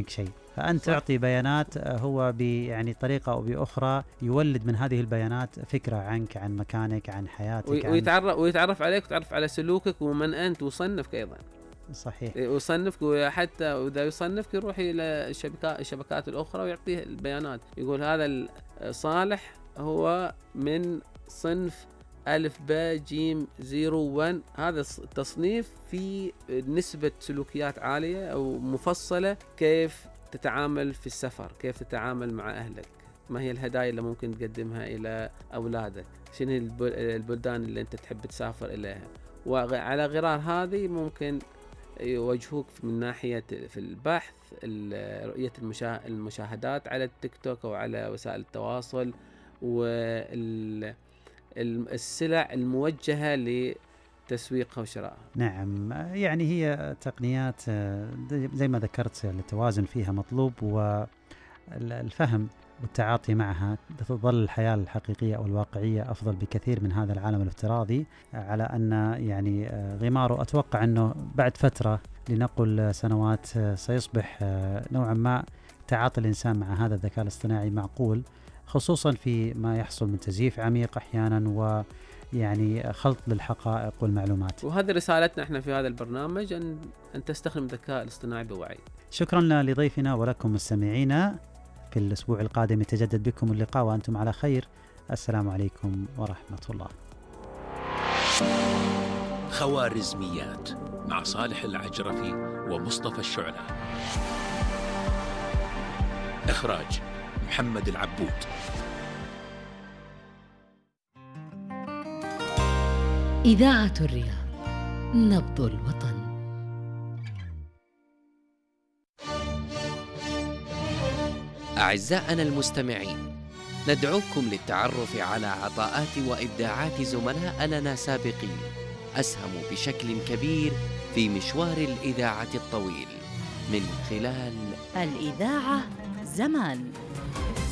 شيء، فأنت صح. تعطي بيانات هو يعني طريقة أو بأخرى يولد من هذه البيانات فكرة عنك، عن مكانك، عن حياتك، ويتعرف عليك ويتعرف على سلوكك ومن أنت، ويصنفك أيضا. صحيح. ويصنفك، وحتى إذا يصنفك يروح إلى الشبكات الأخرى ويعطيه البيانات، يقول هذا صالح هو من صنف ألف باء جيم 01. هذا التصنيف في نسبة سلوكيات عالية أو مفصلة، كيف تتعامل في السفر، كيف تتعامل مع أهلك، ما هي الهدايا اللي ممكن تقدمها إلى أولادك، شنو البلدان اللي أنت تحب تسافر إليها. وعلى غرار هذه ممكن يوجهوك من ناحية في البحث، رؤية المشاهدات على التيك توك أو على وسائل التواصل، والسلع الموجهة لتسويقها وشرائها. نعم، يعني هي تقنيات زي ما ذكرت التوازن فيها مطلوب، والفهم والتعاطي معها تظل الحياة الحقيقية أو الواقعية أفضل بكثير من هذا العالم الافتراضي، على أن يعني غماره أتوقع أنه بعد فترة لنقل سنوات سيصبح نوعا ما تعاطي الإنسان مع هذا الذكاء الاصطناعي معقول، خصوصا في ما يحصل من تزييف عميق أحيانا، ويعني خلط للحقائق والمعلومات. وهذه رسالتنا احنا في هذا البرنامج، أن تستخدم الذكاء الاصطناعي بوعي. شكرا لضيفنا ولكم مستمعينا. في الأسبوع القادم يتجدد بكم اللقاء وأنتم على خير. السلام عليكم ورحمة الله. خوارزميات مع صالح العجرفي ومصطفى الشعلة. إخراج محمد العبود. إذاعة الرياض، نبض الوطن. أعزائنا المستمعين، ندعوكم للتعرف على عطاءات وإبداعات زملاء لنا سابقين أسهموا بشكل كبير في مشوار الإذاعة الطويل من خلال الإذاعة زمان.